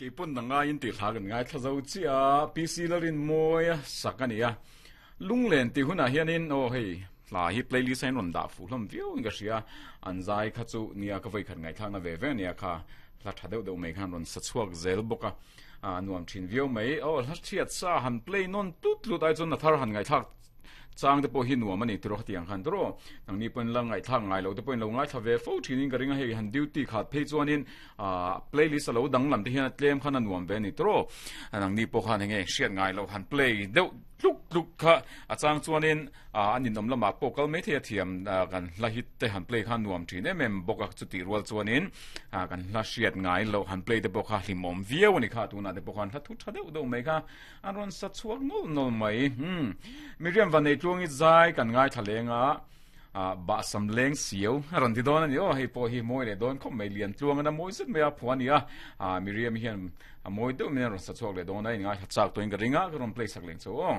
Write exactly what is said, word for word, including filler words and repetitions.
Keipun na ngai in ti hla kan ngai thla zo chi a P C Lalrin mawi a sak a ni a lunglen ti hunah hianin aw hei hla hi playlist a in rawn dah fuh hlawm viau in ka hria an zai kha chu nia ka vawi khat ngaihthlak na ve ve ania kha hla tha deuh deuh mai khan rawn sa chhuak zel bawk a a nuam thin viau mai aw hla thiat sa han play nawn tlut tlut ai chuan na thar han ngaihthlak chang te pawh hi nuam ani tiro khatiang khan tiro nangni pawhin la ngaihthlak ngai lo te pawhin lo ngaithla ve fo thinin ka ring a hei han duty khat phei chuanin ah playlist a lo dang lam te hian a tlem khan a nuam ve ani tiro nangni pawh khan enge hriat ngai lo han play deuh tluk tluk kha a chang chuanin ah an inawm lamah pawh kal mai thei a thiam kan hla hit te han play khan nuam thin em em bawk a chuti rual chuanin ah kan hla hriat ngai lo han play te pawh kha hlimawm viau ani kha tunah te pawh khan hla thu tha deuh deuh mai kha an rawn sa chhuak nawlh nawlh mai hmm Miriam Vanei tluangi zai kan ngaithla leng a ah bahsam leng siau a rawn ti dawn a ni aw hei pawh hi mawi leh dawn khawp mai lian tluang a mawi zet mai a phuah a ni a ah Miriam hian a mawi deuh mai a rawn sa chhuak leh dawn a in ngaithla chak tawhin ka ring a ka rawn play sak leng chu aw.